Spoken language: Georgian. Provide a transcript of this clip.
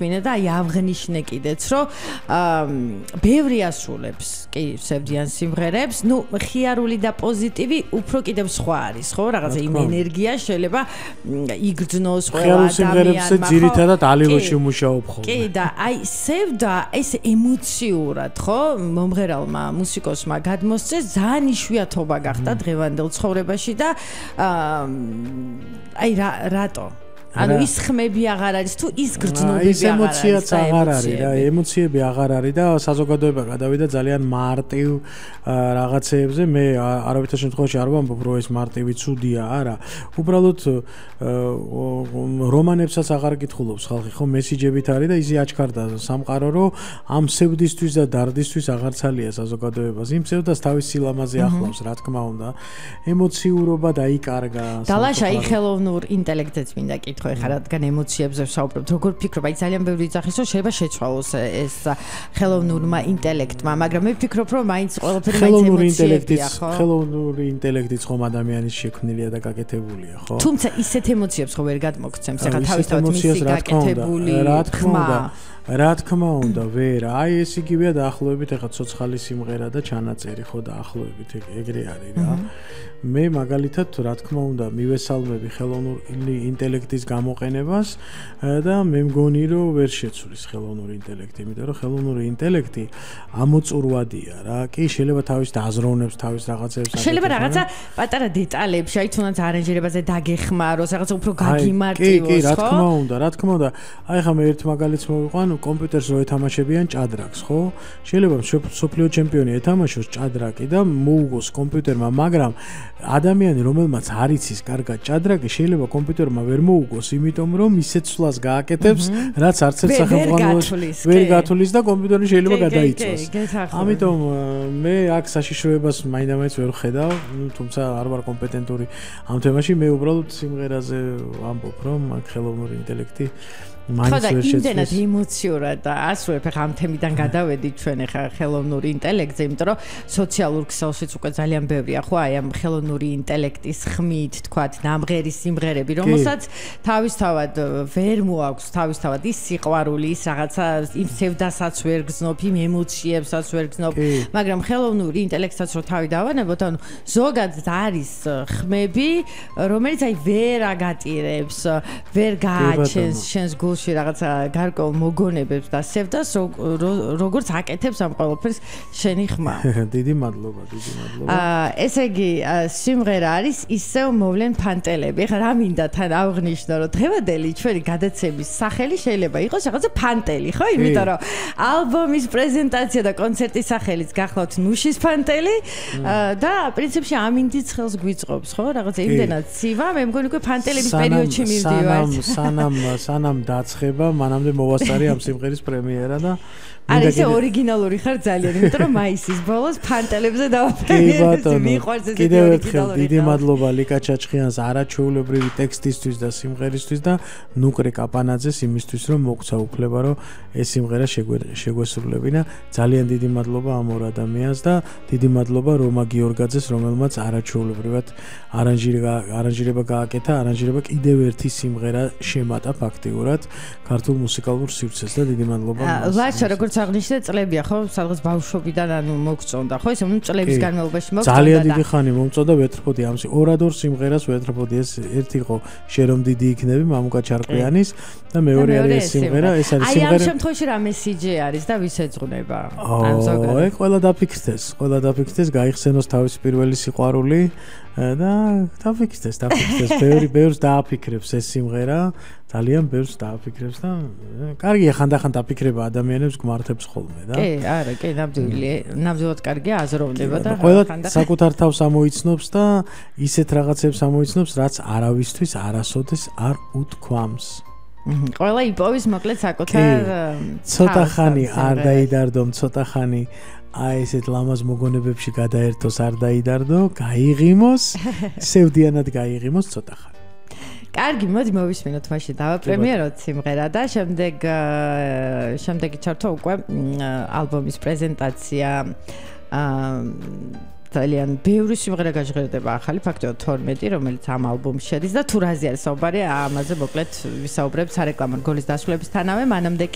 მინდა და აი აღნიშნე კიდეც რომ ბევრი ასრულებს კი სევდიან სიმღერებს ნუ ხიარული და პოზიტივი უფრო კიდევ სხვა არის ხო რაღაცა იმ ენერგია შეიძლება იგრძნოს ყველა ადამიანს სიმღერებზე ძირითადად ალილოში მუშაობ ხოლმე კი და აი სევდა ეს ემოციურად ხო მომღერალმა მუსიკოსმა გადმოსცეს ძალიან იშვიათობა გახდა დღევანდელ ცხოვრებაში და აი რატო ანუ ის ხმები აღარ არის თუ ის გრძნობები აღარ არის ემოციაც აღარ არის რა ემოციები აღარ არის და საზოგადოება გადავიდა ძალიან მარტივ რაღაცეებზე მე არავითარ შემთხვევაში არ ვამბობ რომ ეს მარტივი ცუდია არა უბრალოდ რომანებსაც აღარ კითხულობს ხალხი ხო მესიჯებით არის და ისი აჩქარდა სამყარო რომ ამ სევდისთვის და დარდისთვის აღარ ცალია საზოგადოებას იმ სევდას თავის სილამაზე ახლავს რა თქმა უნდა ემოციურობა დაიკარგა დალაშა აი ხელოვნურ ინტელექტებს მინდა ხო ეხლა რადგან ემოციებზე ვსაუბრობთ როგორ ფიქრობ აი ძალიან ბევრი ძახის რომ შეიძლება შეცვალოს ეს ხელოვნურმა ინტელექტმა მაგრამ მე ვფიქრობ რომ მაინც ყველაფერი მაინც ემოციებია ხო ხელოვნური ინტელექტიც ხომ ადამიანის შექმნილია და გაკეთებულია ხო თუმცა ისეთ ემოციებს ხო ვერ გადმოგცემს ეხლა თავისთავად მისი გაკეთებული რა თქმა უნდა ვერ აი ეს იგივეა დაახლოებით ეხლა ცოცხალი სიმღერა და ჩანაწერი ხო დაახლოებით ეგრე არის რა მე მაგალითად რა თქმა უნდა მივესალმები ხელოვნური ინტელექტის გამოყენებას და მე მგონი რომ ვერ შეცვლის ხელოვნური ინტელექტი იმიტომ რომ ხელოვნური ინტელექტი ამოწურვადია რა კი შეიძლება თავის აზროვნებს თავის რაღაცებს შეიძლება რაღაცა პატარა დეტალებში აი თუნდაც არანჟირებაზე დაგეხმაროს რაღაცა უფრო გაგიმარტივოს კი რა თქმა უნდა აი ხა მე ერთ მაგალითს მოვიყვან კომპიუტერს რო ეთამაშებიან ჭადრაკს ხო შეიძლება სოფლიო ჩემპიონი ეთამაშოს ჭადრაკი და მოუგოს კომპიუტერმა მაგრამ ადამიანი რომელმაც არ იცის კარგად ჭადრაკი შეიძლება კომპიუტერმა ვერ მოუგოს იმიტომ რომ ისეთ სვლას გააკეთებს რაც არც ერთ სახელმწიფოში ვერ გათვლის და კომპიუტერი შეიძლება გადაიწვას ამიტომ მე აქ საშიშროებას მაინდამაინც ვერ ხედავ თუმცა არ ვარ კომპეტენტური ამ თემაში მე უბრალოდ სიმღერაზე ვამბობ რომ აქ ხელოვნური ინტელექტი ხო და იმდენად ემოციურად და ასრულებ ახლა ამ თემიდან გადავედით ჩვენ ახლა ხელოვნური ინტელექტზე იმიტომ რომ სოციალურ ქსელშიც უკვე ძალიან ბევრია ხო აი ამ ხელოვნური ინტელექტის ხმით თქვათ ნამღერი სიმღერები რომელსაც თავისთავად ვერ მოაქვს თავისთავად ის სიყვარული ის რაღაცა იმ სევდასაც ვერ გზნობ იმ ემოციებსაც ვერ გზნობ მაგრამ ხელოვნური ინტელექტსაც რო თავი დავანებოთ ანუ ზოგადად არის ხმები რომელიც აი ვერ აგატირებს ვერ გააჩენს შენს გულში რაღაცა გარკვეულ მოგონებებს და სევდას როგორც აკეთებს ამ ყველაფერს შენი ხმა. დიდი მადლობა. ესე იგი სიმღერა არის ისევ მოვლენ ფანტელები. ეხლა რა მინდა თან აღნიშნო რომ დღევანდელი ჩვენი გადაცემის სახელი შეიძლება იყოს რაღაცა ფანტელი, ხო? იმიტომ რომ ალბომის პრეზენტაცია და კონცერტის სახელიც გახლავთ ნუშის ფანტელი და პრინციპში ამინდიც ხელს გვიწყობს, ხო? რაღაცა იმდენად ცივა, მე მგონი უკვე ფანტელების პერიოდში მივდივართ. სანამ დაცხება, მანამდე მოვასწარი ამ სიმღერის პრემიერა და არის ორიგინალური ხარ ძალიან, იმიტომ რომ მაისის ბოლოს ფანტელებზე დავაფრენე. მიყვარს ეს კიდევ ერთხელ დიდი მადლობა ლიკა ჩაჩხიანს არაჩვეულებრივი ტექსტისთვის და სიმღერისთვის და ნუკრე კაპანაძეს იმისთვის რომ მოგცა უფლება რომ ეს სიმღერა შეგვესრულებინა. ძალიან დიდი მადლობა ამ ორ ადამიანს და დიდი მადლობა რომა გიორგაძეს რომელმაც არაჩვეულებრივად არანჟირება გააკეთა, არანჟირება კიდევ ერთი სიმღერა შემატა ფაქტიურად ქართულ მუსიკალურ სივრცეს და დიდი მადლობა. ლაშა როგორც აღნიშნე წლებია ხო სადღაც ბავშვობიდან ანუ მოგწონდა ხო ისე წლების განმავლობაში მოგწონდა ძალიან დიდი ხანი მომწონდა ვეტრფოდი ამ ორადორ სიმღერას ვეტრფოდი ეს ერთი იყო შერომ დიდი იქნები მამუკა ჩარკვიანის და მეორე არის ეს სიმღერა ეს არის სიმღერა აი ამ შემთხვევაში რა მესიჯი არის და ვის ეძღვნება ან ზოგადად ყველა დაფიქრდეს გაიხსენოს თავის პირველი სიყვარული და დაფიქრდეს ბევრს დააფიქრებს ეს სიმღერა ძალიან ბევრს დააფიქრებს და კარგია ხანდახან დაფიქრება ადამიანებს გმართებს ხოლმე და კი არა კი ნამდვილად კარგია აზროვნება და ყველა საკუთარ თავს ამოიცნობს და ისეთ რაღაცებს ამოიცნობს რაც არავისთვის არასოდეს არ უთქვამს ყველა იპოვის მოკლედ საკუთარ ცოტა ხანი არ დაიდარდო ცოტა ხანი აი ესეთ ლამაზ მოგონებებში გადაერთოს არ დაიდარდო გაიღიმოს სევდიანად გაიღიმოს ცოტა ხანი კარგი, მოდი მოვისმინოთ მაშინ დავაპრემიეროთ სიმღერა და შემდეგი ჩართო უკვე ალბომის პრეზენტაცია ძალიან ბევრი სიმღერა გაჟღერდება ახალი, ფაქტობრივად 12, რომელიც ამ ალბომში შედის და თუ რაზე არის საუბარი, ამაზე მოკლედ ვისაუბრებ სარეკლამო გოლის დასრულებისთანავე, მანამდე